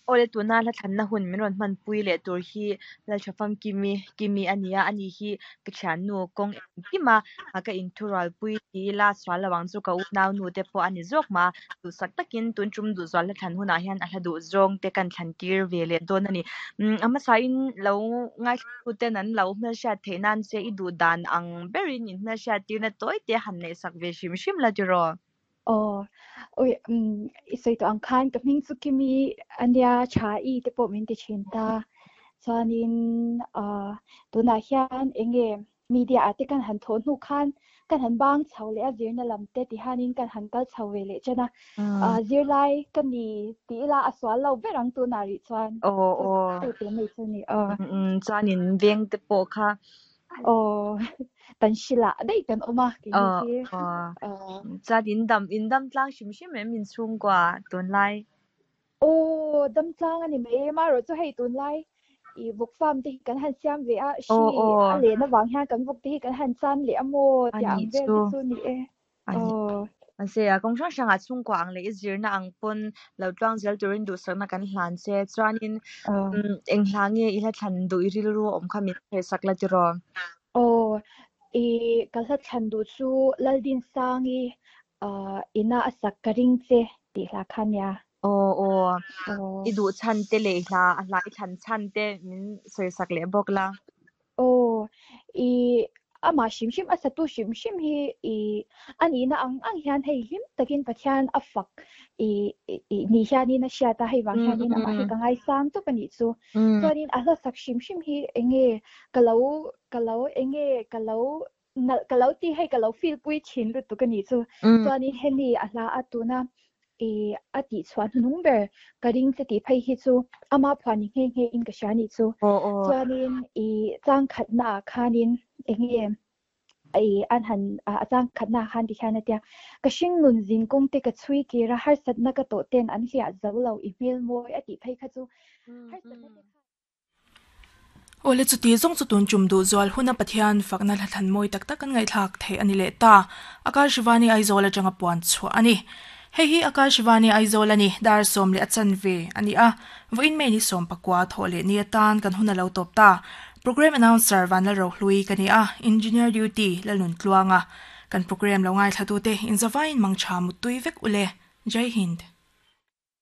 Awle tuna hla thlanna hun min rawn hmanpui leh tur hi Lalthafamkimi Kimi a ni a, ani hi ka thiannu kawng engkima ka inthurualpui ti ila sual lo ang chu ka unaunu te pawh a ni zawk mah a, duhsak takin tun tum duhzual hla thlan hunah hian a hla duh zawng te kan thlan tir ve leh dawn a ni. Umm a hmasain lo ngaithlatuten an lo hmelhriat theih nan che i duh dan ang berin inhmelhriat tirna tawi te han neihsak ve hrim hrim la tiraw? Aw, ui, umm, i sawi tawh ang khan ka hming chu Kimi ania tha i te pawh min ti thin ta. Chuanin ah tunah hian eng nge media ah te kan han thawh hnu khan kan han bang chho leh a zirna lam te ti hianin kan han kal chho ve leh chen a. Ah zirlai ka ni tih ila a sual lo ber ang tunah rih chuan. Aw aw. Chu te mai chu ni aw. Umm chuanin veng te pawh kha Aw, tan hrilah daih kan awm a keini Aw hi. aw. Aw. Chuan in dam in dam tlang hrim hrim em inchhungkua tunlai? Aw, dam tlang a ni mai em a, erawh chu hei tunlai i vawk farm te hi kan han siam ve a, Aw hri aw. a len avang hian kan vawk te hi kan han chan leh a maw A tih nih ang vel chu. te chu ni e. A ni. Aw. Mahse, a kawng hrang hrangah chhungkua ang leh i zirna ang pawn lo tluang zel turin duhsakna kan hlan che. Chuanin eng hla nge i hla thlan duh i rilru a awm kha min hresak la tiraw? Aw, i ka hla thlan duh chu Laldinsangi ina a sak ka ring che tih hla kha nia. Aw aw, i duh chhan te leh i hla a hla i thlan chhan te min sawisak leh bawk la. Aw, i amah hrim hrim a satu hrim hrim hi i a nihna ang ang hian hei hlim takin Pathian a fak i i ni hianin a hriat a, hei vang hianin amah hi ka ngaisang tawp a nih chu. Chuanin a hlasak hrim hrim hi enge ka lo ka lo enge ka lo nalh ka lo ti hei ka lo feel pui thin lutuk a nih chu. Chuanin hemi a hla a tuna i a tih chhuah hnuhnung ber ka ring che tih phei hi chu ama phuah ni nghe nghe in ka hria nih chu. Chuanin i chang khatna ah khanin enge i an han a chang khatna ah khan ti hian a tia ka hring nun zin kawng te ka chhui kir a harsatna ka tawh ten an hliah zo lo i hmel mawi a tih phei kha chu harsatna te kha Awle chuti zawng chu tun tum duh zual huna Pathian fakna hla thlan mawi tak tak kan ngaihthlak theih a ni leh ta. Akash Vani Aizawl atanga puan chhuah a ni. Hei hi Akash Vani Aizawl a ni, dar 10 a chanve a ni a, vawiin May ni 19 thawh leh ni atan kan hun a lo tawp ta. Programme Announcer Vanlalrohlui ka ni a, Engineer Duty Lalnuntluanga. Kan programme lo ngaithlatute inzavain mangtha muttui vek ule. Jai Hind.